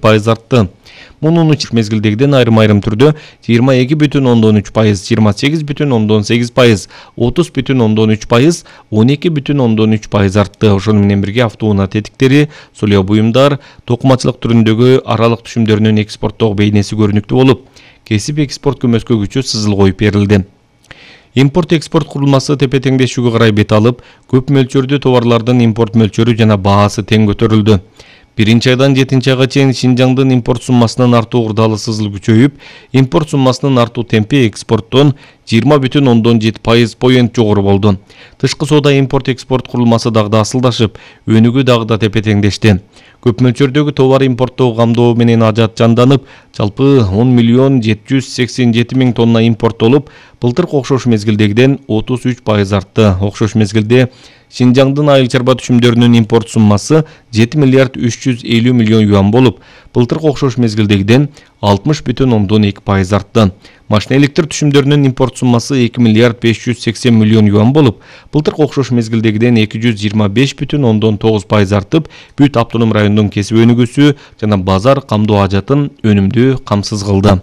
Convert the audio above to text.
% артты. Мунун үчүн мезгилдегиден айрым түрдө 22,3%, 28,8%, 30,3%, 12,3% артты. Ошону менен бирге автоунаа тетиктери, сулуу буюмдар, токумачылык түрүндөгү аралык түшүмдөрүнүн экспорттогу бейнеси көрүнүктүү болуп, кесип экспорт көмөскөгүчө сызыл коюп берилди. Импорт-экспорт курулмасы тепе-теңдешүүгө карай бет алып, көп мөлчөрдө товарлардын импорт мөлчөрү жана баасы тең көтөрүлдү. 1-айдан 7-айга чейин Шинжаңдын импорт суммасынын артуу курдалы сызыл күчөйүп, импорт суммасынын артуу темпи экспорттон 20,7% поент жогору болду. Тышкы соода импорт-экспорт курулмасы дагы да асылдашып, өнүгүү дагы да тепе-теңдешти. Көп мөлчөрдөгү товар импорттоо камдоо менен ажат жанданып, жалпы 10,787,000 тонна импорттолуп, былтыркы окшош мезгилдегиден 33% артты. Окшош мезгилде Шинжаңдын айыл чарба түшүмдөрүнүн импорт суммасы 7,350,000,000 юан болуп, былтыркы окшош мезгилдегиден 60,2% артты. Машина электр түшүмдөрүнүн импорт суммасы 2,580,000,000 юан болуп, былтыркы окшош мезгилдегиден 225,9% артып, бүт автоном райондун кесип өнүгүүсү жана базар камдоо ажатын өнүмдүү камсыз кылды.